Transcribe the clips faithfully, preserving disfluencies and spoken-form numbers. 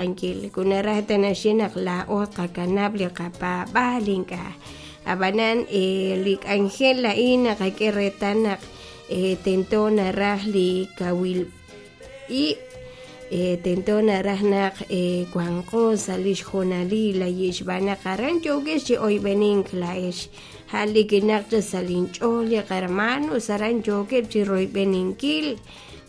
Kunaraj ta naxye naq laa'o tqakanab' li qapaab'aal ink'a' ab'anan li k'anjel a'in naqak'e reetal naq tento naraj li kawil ib' tento naraj naq wanqo sa' li xjoonalil ayi' xb'aan naq aran yookex chi oyb'enink laa'ex ja'al li kinaq chaq sa' linch'ool li qahermanos aran yookeb' chi royb'eninkil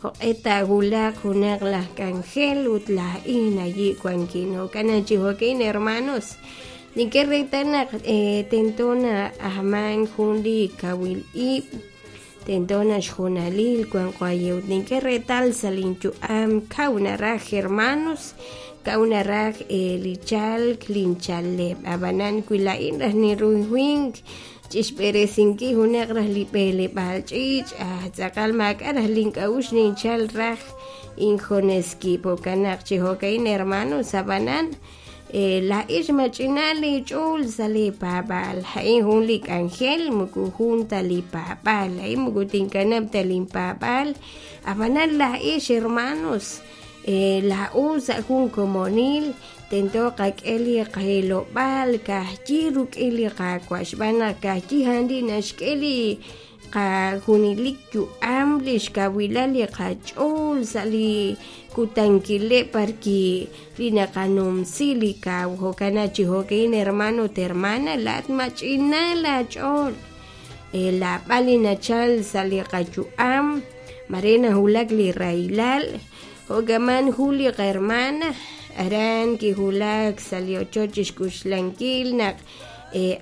jo'q'e taawulaq junaq laj k'anjel ut laa'in ayi' wankin jo'kan chi jo'ka'in hermanos nink'e reetal naq tento na'ajman jun li kawil ib' tento naq xjoonalil wanqo ayi' ut nink'e reetal sa' linyu'am kaw naraj hermanos kaw naraj li chalk linchaleb' ab'anan wi laa'in raj ninruhink chixb'eresinkil junaq raj li b'eleb'aal ch'iich' tz'aqal maak'a' raj link'a'uxl ninchal raj injunes kib' jo'kan naq chi jo'ka'in hermanos ab'anan laa'ex mach'ina leech'ool sa' leepaab'aal a'in jun li k'anjel moko jun ta li paab'aal a'in moko tinkanab' ta linpaab'aal ab'anan laa'ex hermanos laa'o sa' jun komonil tento qak'e li qahilob'aal ka'ajyi ruk'in li Qaawa' xb'aan naq ka'ajyi a'an li naxk'e li qajunelik yu'am li xkawilal li qach'ool sa' li kutankileb' parki li naqanumsi li kaw jo'kan naq chi jo'ka'in hermano ut hermana laa'at mach'ina laach'ool laab'al li nachal sa' li qayu'am mare nawulak li rahilal jo'kaman jun li qahermana aran kiwulak sa' li ochoch chixk'uxlankil naq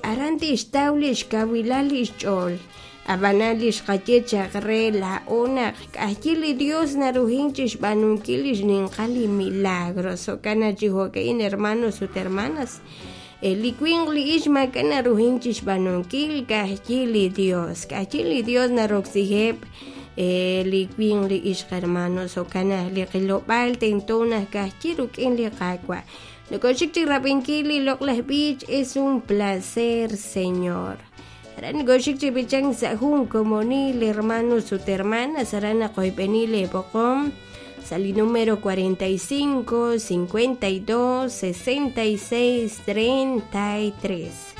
aran tixtaw li xkawilal li xch'ool ab'anan li xqaye chaq re laa'o naq k'ajyi li Dios naruhin chixb'aanunkil li xninqal li milagros jo'kan naq chi jo'ka'in hermanos ut hermanas li winq li ix maak'a' naruhin chixb'aanunkil ka'ajyi li Dios k'ajyi li Dios naroksiheb' li winq li ixq hermanos jo'kan naq li qilob'aal tento naq ka'ajyi ruk'in li Qaawa' nokoxik chi rab'inkil li loq'laj b'ich es un placer Señor aran nokoxik chi b'ichank sa' jun komonil hermanos ut hermanas aran naqoyb'eni leeb'oqom sa' li número cuarenta y cinco, cincuenta y dos, sesenta y seis, treinta y tres.